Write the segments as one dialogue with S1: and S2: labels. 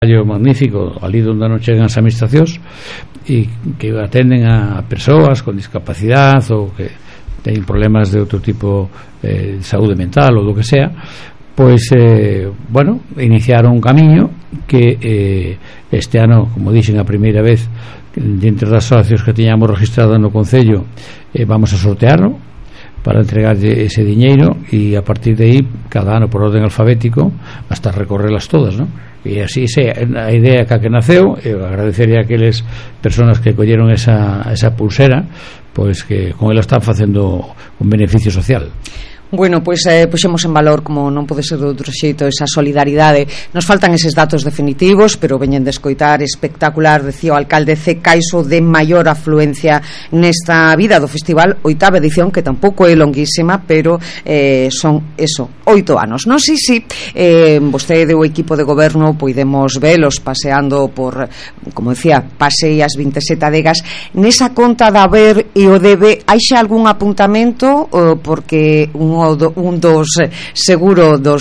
S1: magnífico ali onde non chegan as administracións e que atenden a persoas con discapacidade ou que teñen problemas de outro tipo de saúde mental ou do que sea, pois bueno, iniciaron un camiño que este ano, como dixen a primeira vez, entre das socios que tiñamos registradas no Concello, vamos a sortearlo para entregarlle ese diñeiro e a partir de aí cada ano por orden alfabético hasta recorrelas todas, non? E así a idea que naceu, eu agradeceré a aqueles personas que colleron esa pulsera, pois que con ela están facendo un beneficio social.
S2: Bueno, pois puxemos en valor, como non pode ser de outro xeito, esa solidaridade. Nos faltan eses datos definitivos, pero veñen de escoitar espectacular, decía o alcalde C. Caiso, de maior afluencia nesta vida do festival, 8ª edición, que tampouco é longuísima, pero son 8 anos. Non sei se vostede o equipo de goberno podemos velos paseando por, como decía, pasei as 27 adegas. Nesa conta da haber e o debe, hai xa algún apuntamento? Porque un dos seguro do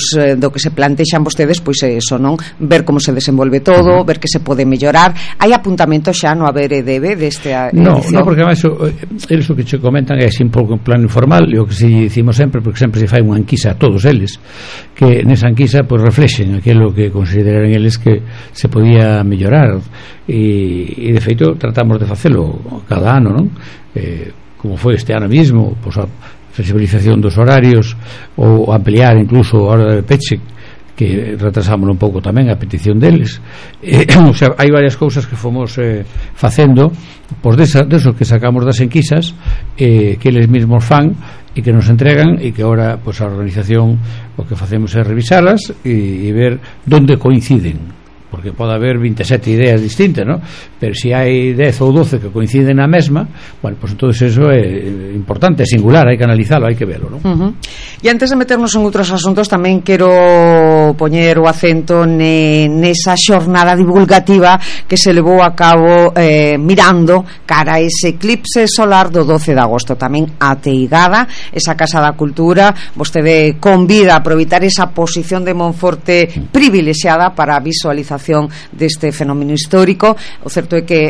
S2: que se plantexan vostedes, pois é eso, non? Ver como se desenvolve todo, ver que se pode mellorar. Hai apuntamento xa no haber e debe desta edición?
S1: No, porque además eles o que che comentan é sempre un plan informal, e o que se dicimos sempre, porque sempre se fai unha enquisa a todos eles, que nesa enquisa pois reflexen aquilo que consideraran eles que se podía mellorar, e de feito tratamos de facelo cada ano, non? Como foi este ano mismo, pois a flexibilización dos horarios ou ampliar incluso a hora de peche, que retrasamos un pouco tamén a petición deles. O sea, hai varias cousas que fomos facendo pois deso que sacamos das enquisas, que eles mesmos fan e que nos entregan, e que ahora pois a organización o que facemos é revisalas e ver onde coinciden, porque pode haber 27 ideas distintas, ¿no? Pero se hai 10 ou 12 que coinciden na mesma, bueno, pues entonces eso é importante, é singular, hai que analizalo, hai que velo, ¿no?
S2: E antes de meternos en outros asuntos, tamén quero poñer o acento nesa xornada divulgativa que se levou a cabo mirando cara a ese eclipse solar do 12 de agosto, tamén ateigada esa Casa da Cultura. Vostede convida a aproveitar esa posición de Monforte privilexiada para a visualización deste fenómeno histórico. O certo é que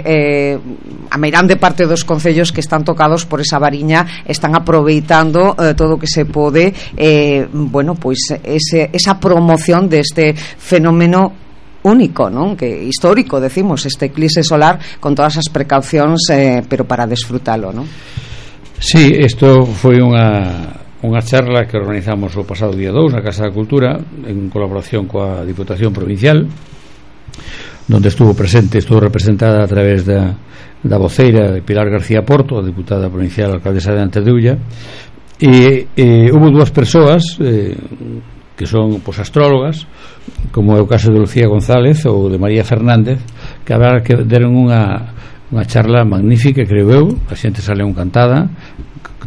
S2: a meirande parte dos concellos que están tocados por esa variña están aproveitando todo o que se pode, bueno, pois esa promoción deste fenómeno único, non? Que histórico, decimos, este eclipse solar con todas as precaucións, pero para desfrutalo, non?
S1: Sí, isto foi unha charla que organizamos o pasado día 2 na Casa da Cultura en colaboración coa Diputación Provincial, donde estuvo representada a través da voceira de Pilar García Porto, a diputada provincial alcaldesa de Antedeulla, e hubo dúas persoas que son pois astrólogas, como é o caso de Lucía González ou de María Fernández, que a verdade que deron unha charla magnífica, creo eu, a xente sale encantada,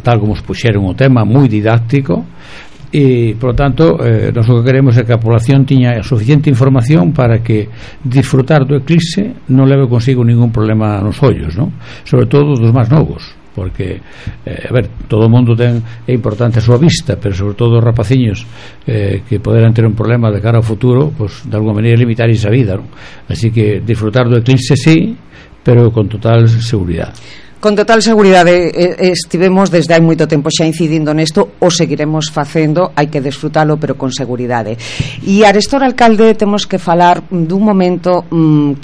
S1: tal como os puxeron o tema, moi didáctico, e, por lo tanto, nós o que queremos é que a población tiña suficiente información para que disfrutar do eclipse non leve consigo ningún problema nos ollos, non? Sobre todo dos máis novos, porque, a ver, todo o mundo é importante a súa vista, pero sobre todo os rapaciños que poderán ter un problema de cara ao futuro, pues, de alguma maneira limitar esa vida, non? Así que disfrutar do eclipse sí, pero con total seguridade.
S2: Con total seguridade, estivemos desde hai moito tempo xa incidindo nesto, o seguiremos facendo, hai que desfrutalo, pero con seguridade. E arestor, alcalde, temos que falar dun momento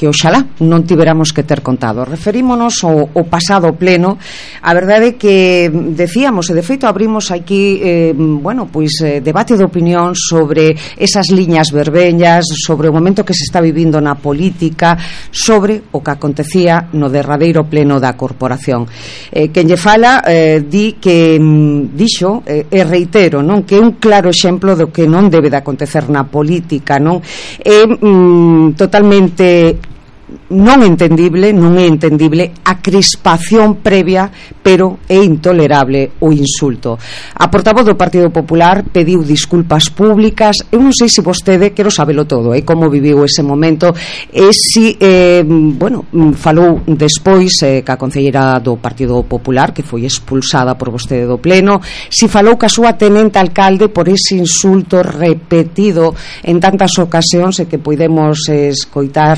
S2: que oxalá non tiveramos que ter contado. Referímonos ao pasado pleno. A verdade é que decíamos, e de feito abrimos aquí bueno, pois debate de opinión sobre esas liñas vermellas, sobre o momento que se está vivindo na política, sobre o que acontecía no derradeiro pleno da corporación. Quen lle fala di que dixo, e reitero, non, que é un claro exemplo do que non debe de acontecer na política, non? É totalmente non é entendible a crispación previa, pero é intolerable o insulto. A portavoz do Partido Popular pediu disculpas públicas. Eu non sei se vostede, quero sabelo todo, como viviu ese momento, e se falou despois ca concelleira do Partido Popular, que foi expulsada por vostede do pleno, se falou ca súa tenente alcalde por ese insulto repetido en tantas ocasións e que podemos escoitar